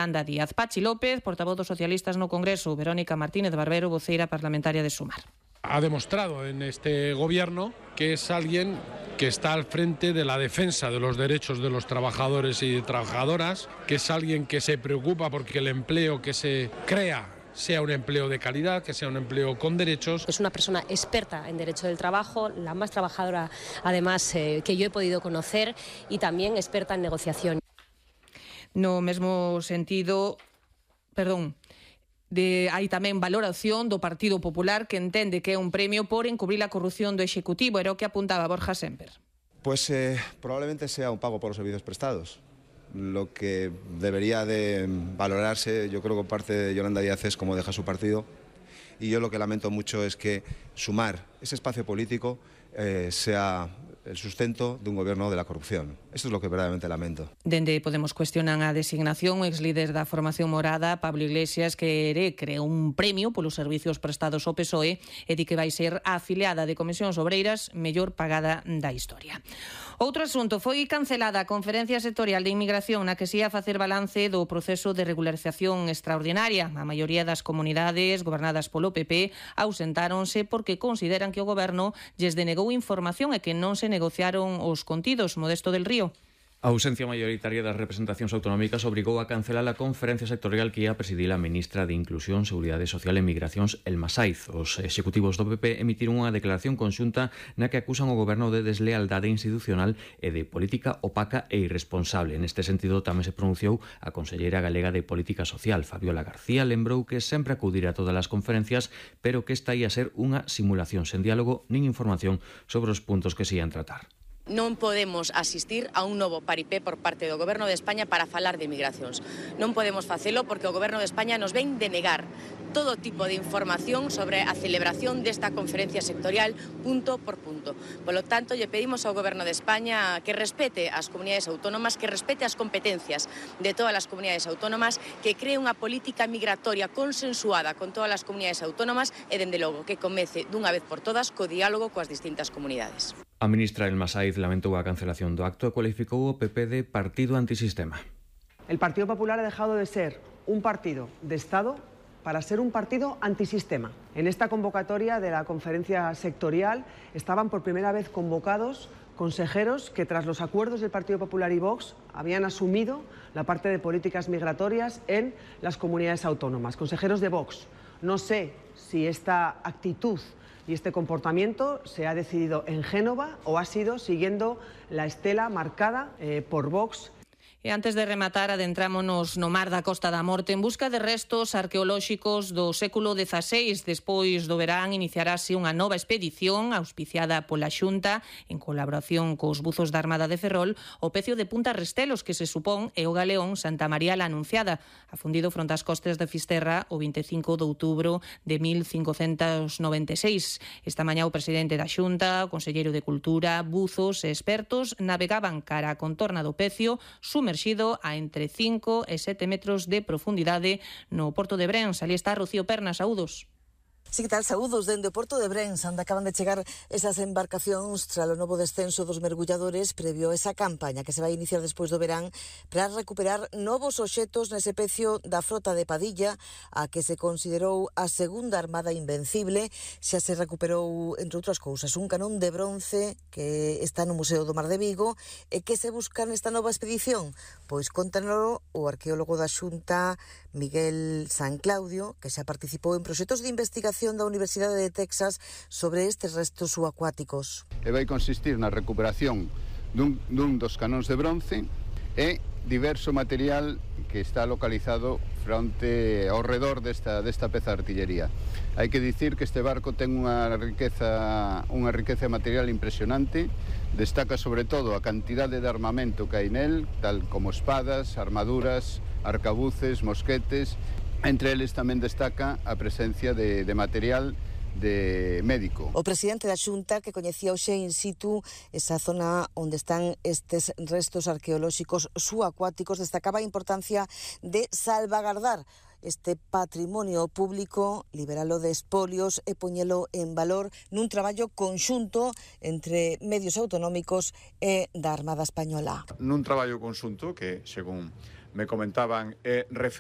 Yolanda Díaz. Pachi López, portavoz dos socialistas no Congreso, Verónica Martínez Barbero, voceira parlamentaria de Sumar. Ha demostrado en este gobierno que es alguien que está al frente de la defensa de los derechos de los trabajadores y trabajadoras, que es alguien que se preocupa porque el empleo que se crea sea un empleo de calidad, que sea un empleo con derechos. Es una persona experta en derecho del trabajo, la más trabajadora además que yo he podido conocer, y también experta en negociación. No mesmo sentido, hai tamén valoración do Partido Popular, que entende que é un premio por encubrir a corrupción do Executivo. Era o que apuntaba Borja Semper. Pues probablemente sea un pago por los servicios prestados. Lo que debería de valorarse, yo creo que parte de Yolanda Díaz, es cómo deja su partido. Y yo lo que lamento mucho es que Sumar, ese espacio político, sea el sustento de un gobierno de la corrupción. Esto es lo que verdaderamente lamento. Dende Podemos cuestionan a designación. O exlíder da formación morada, Pablo Iglesias, quere crear un premio polos servicios prestados ao PSOE e di que vai ser a afiliada de Comisións Obreiras mellor pagada da historia. Outro asunto, foi cancelada a conferencia sectorial de inmigración na que se ia facer balance do proceso de regularización extraordinaria. A maioría das comunidades gobernadas polo PP ausentáronse porque consideran que o goberno lles denegou información e que non se negociaron os contidos. Modesto del Río. A ausencia maioritaria das representacións autonómicas obrigou a cancelar a conferencia sectorial que ia presidir a ministra de Inclusión, Seguridade Social e Migracións, Elma Saiz. Os executivos do PP emitiron unha declaración conxunta na que acusan o goberno de deslealdade institucional e de política opaca e irresponsable. Neste sentido, tamén se pronunciou a conselleira galega de Política Social, Fabiola García. Lembrou que sempre acudirá a todas as conferencias, pero que esta ia ser unha simulación sen diálogo nin información sobre os puntos que se ian tratar. Non podemos asistir a un novo paripé por parte do Goberno de España para falar de migracións. Non podemos facelo porque o Goberno de España nos ven denegar todo tipo de información sobre a celebración desta conferencia sectorial punto por punto. Polo tanto, lle pedimos ao Goberno de España que respete as comunidades autónomas, que respete as competencias de todas as comunidades autónomas, que cree unha política migratoria consensuada con todas as comunidades autónomas e, dende logo, que comece dunha vez por todas co diálogo coas distintas comunidades. A ministra Elma Saiz lamentou a cancelación do acto e cualificou o PP de partido antisistema. El Partido Popular ha dejado de ser un partido de Estado para ser un partido antisistema. En esta convocatoria de la conferencia sectorial estaban por primera vez convocados consejeros que, tras los acuerdos del Partido Popular y Vox, habían asumido la parte de políticas migratorias en las comunidades autónomas. Consejeros de Vox. No sé si esta actitud y este comportamiento se ha decidido en Génova o ha sido siguiendo la estela marcada por Vox. E antes de rematar, adentrámonos no mar da Costa da Morte en busca de restos arqueolóxicos do século XVI. Despois do verán iniciarase unha nova expedición auspiciada pola Xunta en colaboración cos buzos da Armada de Ferrol o pecio de Punta Restelos, que se supón é o galeón Santa María la Anunciada, afundido fronte ás costas de Fisterra o 25 de outubro de 1596. Esta mañá o presidente da Xunta, o conselleiro de Cultura, buzos e expertos navegaban cara a contorna do pecio, sumerxido a entre 5 e 7 metros de profundidade no Porto de Brens. Ali está Rocío Perna, saúdos. Sí, que tal, saúdos dende o Porto de Brens, onde acaban de chegar esas embarcacións tras o novo descenso dos mergulladores previo a esa campaña que se vai iniciar despois do verán para recuperar novos obxetos nese pecio da frota de Padilla, a que se considerou a segunda armada invencible. Xa se recuperou, entre outras cousas, un canón de bronce que está no Museo do Mar de Vigo e que se busca nesta nova expedición. Pois contanolo o arqueólogo da Xunta, Miguel San Claudio, que xa participou en proxectos de investigación da Universidade de Texas sobre estes restos subacuáticos. E vai consistir na recuperación dun dos canóns de bronce e diverso material que está localizado fronte ao redor desta peza de artillería. Hai que dicir que este barco ten unha riqueza material impresionante. Destaca sobre todo a cantidade de armamento que hai nel, tal como espadas, armaduras, arcabuces, mosquetes. Entre eles tamén destaca a presencia de material de médico. O presidente da Xunta, que coñecía hoxe in situ esa zona onde están estes restos arqueolóxicos subacuáticos, destacaba a importancia de salvagardar este patrimonio público, liberalo de espolios e poñelo en valor nun traballo conxunto entre medios autonómicos e da Armada Española. Nun traballo conxunto que, según me comentaban,